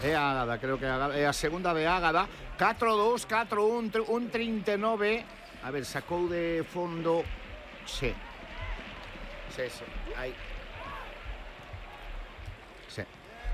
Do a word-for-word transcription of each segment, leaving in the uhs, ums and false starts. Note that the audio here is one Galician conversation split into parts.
É a Ágada, creo que é a segunda de Ágada. catro dos, catro un, un trinta e nove. A ver, sacou de fondo. Sí. Sí, sí. Aí. Sí.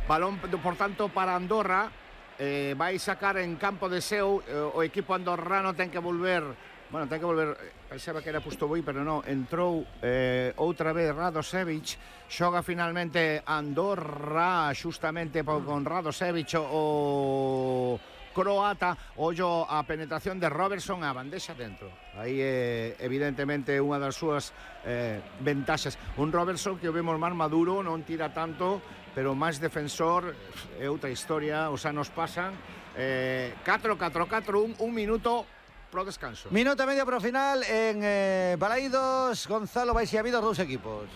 Balón, por tanto, para Andorra. Eh, vai sacar en campo de seu. Eh, o equipo andorrano ten que volver. Bueno, ten que volver. Pensaba que era Pustoboi, pero non. Entrou eh, outra vez Radosevic. Xoga finalmente Andorra, xustamente con Radosevic o croata. Ollo a penetración de Robertson, a bandexa dentro. Aí é eh, evidentemente unha das súas eh, ventaxas. Un Robertson que o vemos máis maduro, non tira tanto, pero máis defensor. É outra historia, os anos pasan. eh, catro catro catro un, un minuto pro descanso. Minuto e medio pro final en eh, Balaídos. Gonzalo, vais e habido dous equipos.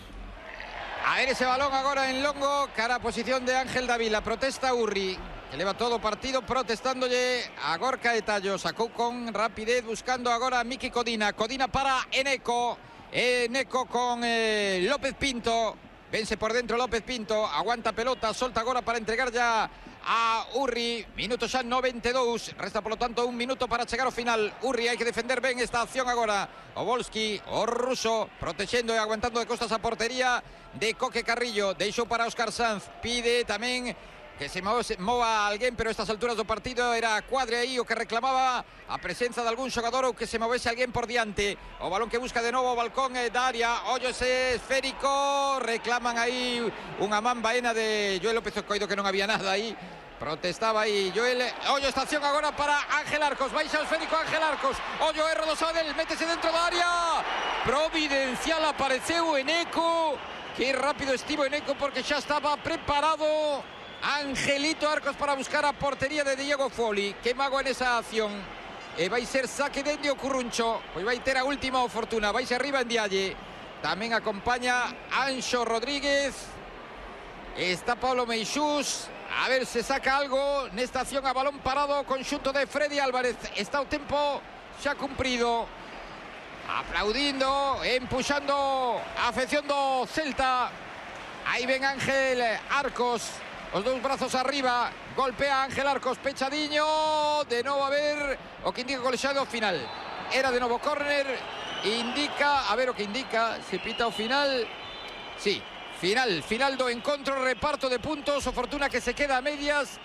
A ver ese balón agora en longo, cara a posición de Ángel Dávila. Protesta Urri, que leva todo o partido protestándolle a Gorka de Tallo. Sacou con rapidez buscando agora a Miki Codina. Codina para Eneco. Eneco con eh, López Pinto. Vence por dentro López Pinto. Aguanta pelota, solta agora para entregar ya a Urri. Minuto xa noventa e dous. Resta polo tanto un minuto para chegar ao final. Urri hai que defender ben esta acción agora. O Volsky, o ruso, protexendo e aguantando de costas a portería de Coque Carrillo. Deixou para Óscar Sanz. Pide tamén que se mova alguén, pero a estas alturas do partido era Cuadre aí o que reclamaba a presenza de algún xogador ou que se movese alguén por diante. O balón que busca de novo o balcón da área. Ollo ese esférico. Reclaman aí unha man baena de Joel López Ocoido, que non había nada aí. Protestaba aí Joel. Ollo esta acción agora para Ángel Arcos. Baixa o esférico Ángel Arcos. Ollo erro do Sabadell. Métese dentro da área. Providencial apareceu Eneco. Que rápido estivo Eneco porque xa estaba preparado Angelito Arcos para buscar a portería de Diego Foli. Que mago en esa acción. E vai ser saque de Endio Curruncho. Pois vai ter a última oportuna. Vai ser arriba en Dialle. Tamén acompaña Anxo Rodríguez. Está Pablo Meixús. A ver se saca algo nesta acción a balón parado. Conxunto de Freddy Álvarez. Está o tempo xa cumprido. Aplaudindo, empuxando a afección do Celta. Aí ven Ángel Arcos. Os dous brazos arriba, golpea Ángel Arcos, pechadiño, de novo a ver o que indica o colexiado final. Era de novo córner, indica, a ver o que indica, se pita o final. Sí, final, final do encontro, reparto de puntos, o Fortuna que se queda a medias.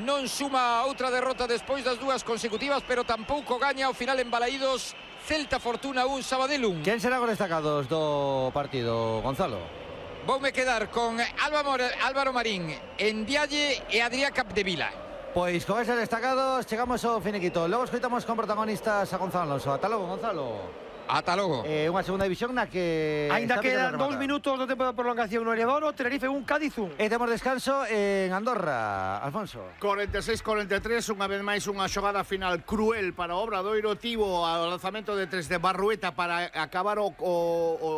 Non suma outra derrota despois das dúas consecutivas, pero tampouco gaña o final en Balaídos. Celta Fortuna un, Sabadell un. Quen será os destacados do partido, Gonzalo? Voume quedar con Álvaro Marín, Ndiaye e Adrián Capdevila. Pois con eses destacados chegamos ao finiquito. Logo escoitamos con protagonistas a Gonzalo Alonso. Ata logo, Gonzalo. Ata logo. Eh, unha segunda división na que ainda quedan dous minutos do tempo de prolongación no Heliodoro. Tenerife un, Cádiz un. E temos descanso en Andorra, Alfonso. cuarenta e seis cuarenta e tres, unha vez máis unha xogada final cruel para o Obradoiro. Tivo ao lanzamento de tres de Barrueta para acabar o, o, o,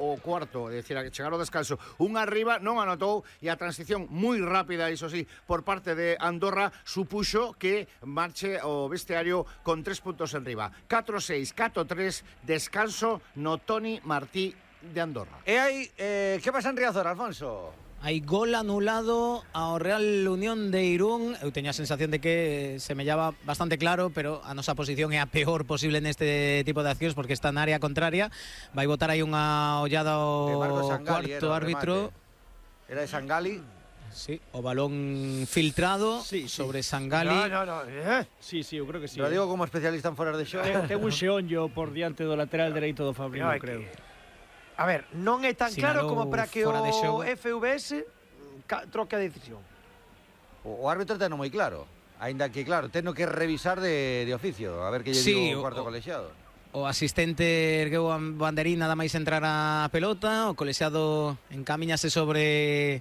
o cuarto, é dicir, a chegar ao descanso. Un arriba, non anotou, e a transición moi rápida, iso sí, por parte de Andorra, supuxo que marche o vestiario con tres puntos en riba. catro seis, catro tres, descanso no Toni Martí de Andorra. E aí, eh, que pasa en Riazor, Alfonso? Hai gol anulado ao Real Unión de Irún. Eu teño a sensación de que se me llava bastante claro, pero a nosa posición é a peor posible neste tipo de accións porque está na área contraria. Vai botar aí unha ollada ao cuarto árbitro. Era de Sangali. Sí, o balón filtrado sí, sí. sobre Sangali. No, no, no. Eh? Sí, sí, eu creo que sí. Lo digo como especialista en foras de xogo. Ten un xeonllo por diante do lateral dereito do Fabrino, no, creo. Que... A ver, non é tan Sinalou claro como para que o F V S troque a decisión. O, o árbitro ten moi claro. Ainda que, claro, teno que revisar de, de oficio. A ver que lle sí, digo o cuarto o, colexiado. O asistente ergueu a banderín nada máis entrar a pelota. O colexiado encamiñase sobre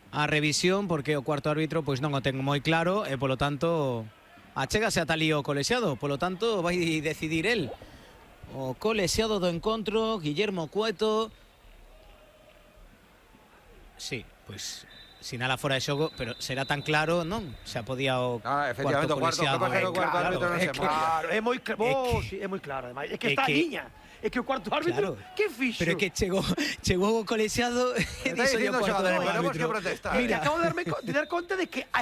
a revisión porque o cuarto árbitro pois non o ten moi claro e polo tanto achégase ata ali o colexiado, polo tanto vai decidir el. O colexiado do encontro, Guillermo Cueto. Sí, pois sinala fora de xogo, pero será tan claro, non? Xa podía o ah, cuarto colexiado. É claro, é claro, é moi claro, oh, sí, é moi claro, ademais. É que está a liña. É que o cuarto árbitro, claro. Que fixo? Pero é que chegou, chegou o colexiado e dixo o cuarto árbitro. Mira, acabo de darme de dar conta de que a